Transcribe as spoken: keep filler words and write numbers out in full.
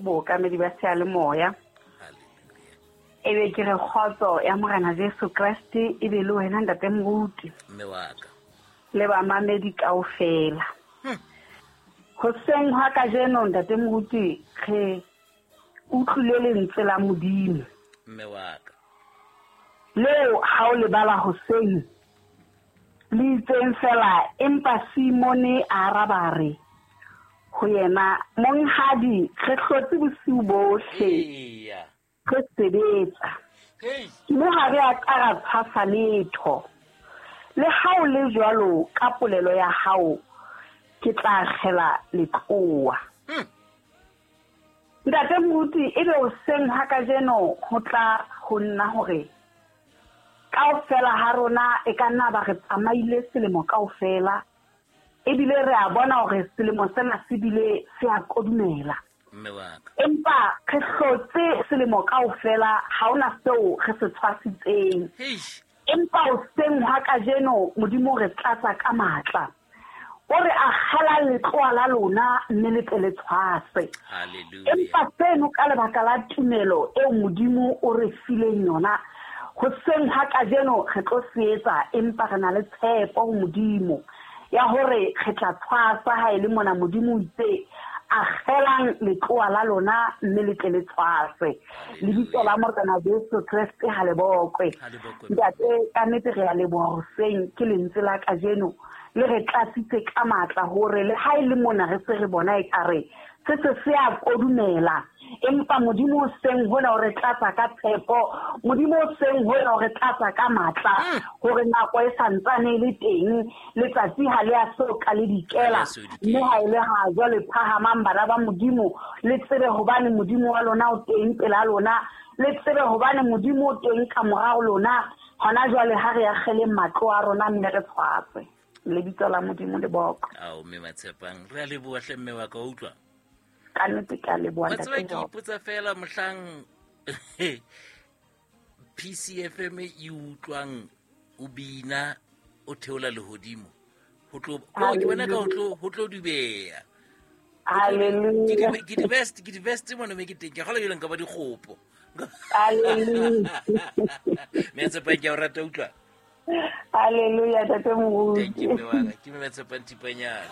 Bookamedi ba seyalemoya. E be ke re kgotso ya Morena Jesu Kreste e be le wena ntate Moruti. Mme wa ka. Le bamamedi kaofela. Hoseng hwa kajeno ntate Moruti re utlwile lentswe la Modimo. Mme wa ka. Leo ha o le bala hoseng le itseng fela, empa Simone a araba re ho yena, monghadi, re hlotse bosiu bohle re sebetsa, mme ha re a ka ra tshwasa letho. Le ha o le jwalo ka polelo ya hao, ke tla akgela letlowa. Ntate Moruti, ebe hoseng ha kajeno ho tla ho nna hore kaofela ha rona e ka nna ba re tsamaile selemo kaofela, ebile re a bona hore selemo sena se bile se a kodumela. Mme wa ka. Empa re hlotse selemo kaofela, ha hona seo re se tshwasitseng. Empa hoseng hwa kajeno Modimo re tlatsa ka matla. O re akgela letlowa la lona mme le tle le tshwase. Empa seno ka lebaka la tumelo eo Modimo o re fileng yona, hoseng ha kajeno re tlo se etsa, empa re na le tshepo ho Modimo ya hore re tla tshwasa ha e le mona Modimo o itse akgelang letlowa la lona mme le tle le tshwase. Lebitso la Morena Jesu Kreste ha le bokwe. Ntate, ka nnete re a leboha hoseng ke lentswe la kajeno le re tlatsitse ka matla hore le ha e le mona re se re bona ekare se se se a kodumela, empa Modimo o seng hona o re tlatsa ka tshepo, Modimo o seng hona o re tlatsa ka matla hore nako e santsane e le teng, letsatsi ha le a so ka le dikela, mme ha e le ha jwale phahamang bana ba Modimo, le tsebe hobane Modimo wa lona o teng pela lona, le tsebe hobane Modimo o teng ka morao lona. Hona jwale ha re akgeleng matlo a rona mme re tshwase. Lebitso la Modimo le boko. Ao mme Matshepang, re a leboha hle mme wa ka, utlwa. Ka nnete ke a leboha Wa tseba ntate ke Job. ipotsa fela mohlang P C F M e utlwang o bina o theola lehodimo, ho tlo, ko ke bona ka ho tlo, ho tlo dubeha. Hallelujah. Ke di, ke di best, ke di best mona me ke teng. Ke kgolwa jwale nka ba dikgopo. Hallelujah. Mme Tshepang, ke a o rata, utlwa. Hallelujah, ntate Moruti. Thank you, mme wa ka. Ke mme Tshepang Thipanyane.